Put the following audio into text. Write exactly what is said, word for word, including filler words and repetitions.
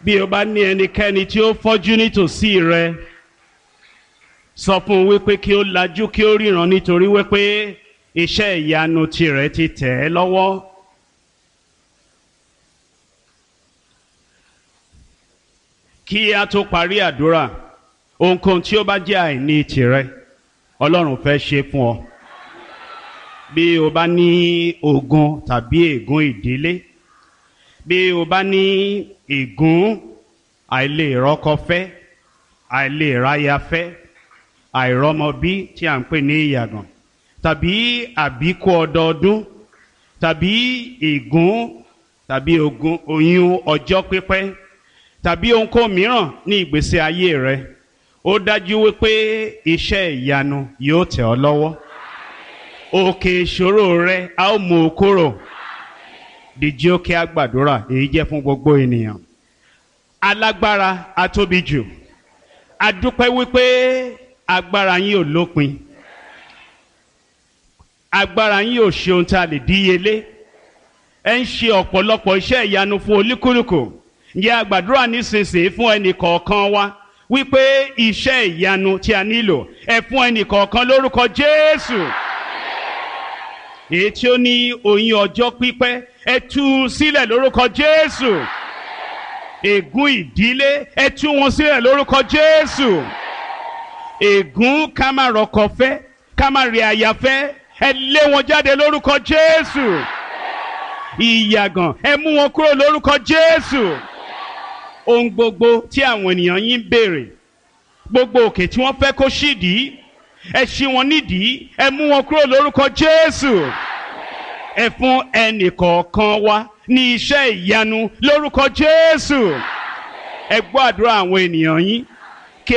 Bí o bá ní ẹnikẹ́ni tí ó fọ́jú nítòsí rẹ, sọ fún un wípé kí ó lajú kí ó ríran, nítorí wípé iṣẹ́ ìyanu tirẹ̀ ti tẹ̀ ẹ́ lọ́wọ́. Kí a tó parí àdúrà, ohunkóhun tí ó bá jẹ́ àìní tirẹ̀, Ọlọ́run fẹ́ ṣe fún ọ. Bí o bá ní ogun tàbí ègún ìdílé, bí o bá ní ègún àìlèrọ́kọ fẹ́, àìlèráyafẹ́, àìrọ́mọbí tí à ń pè ní ìyàgàn, tàbí àbíkú ọdọọdún, tàbí ègún tàbí ogun oyún ọjọ́ pípẹ́, tàbí ohunkóhun mìíràn ní ìgbésí ayé rẹ, ó dájú wípé iṣẹ́ ìyanu yóò tẹ̀ ọ́ lọ́wọ́. Òkè ìṣòro rẹ a ó mú o kúrò. Dìjí ó kí a gbàdúrà, èyí jẹ́ fún gbogbo ènìyàn. Alágbára atóbi jù, a dúpẹ́ wípé agbára yín ò lópin, agbára yín ò ṣe ohun tí a lè díyelé. Ẹ ń ṣe ọ̀pọ̀lọpọ̀ iṣẹ́ ìyanu fún olúkúlùkù. Ǹjẹ́ a gbàdúrà nísinsìnyí fún ẹnì kọ̀ọ̀kan wa wípé iṣẹ́ ìyanu tí a nílò, ẹ fún ẹnì kọ̀ọ̀kan lórúkọ Jésù. Èyí tí ó ní oyún ọjọ́ pípẹ́, ẹ tú u sílẹ̀ lórúkọ Jésù. Ègún ìdílé, ẹ tú wọn sílẹ̀ lórúkọ Jésù. Ègún ká má rọkọ fẹ́, ká má rí aya fẹ́, ẹ lé wọn jáde lórúkọ Jésù. Ìyàgàn, ẹ mú wọn kúrò lórúkọ Jésù. Ohun gbogbo tí àwọn ènìyàn yín ń béèrè, gbogbo òkè tí wọ́n fẹ́ kó ṣídìí, ẹ ṣí wọn nídìí, ẹ mú wọn kúrò lórúkọ Jésù. Ẹ fún ẹnì kọ̀ọ̀kan wa ní iṣẹ́ ìyanu lórúkọ Jésù. Ẹ gbọ́ àdúrà àwọn ènìyàn yín.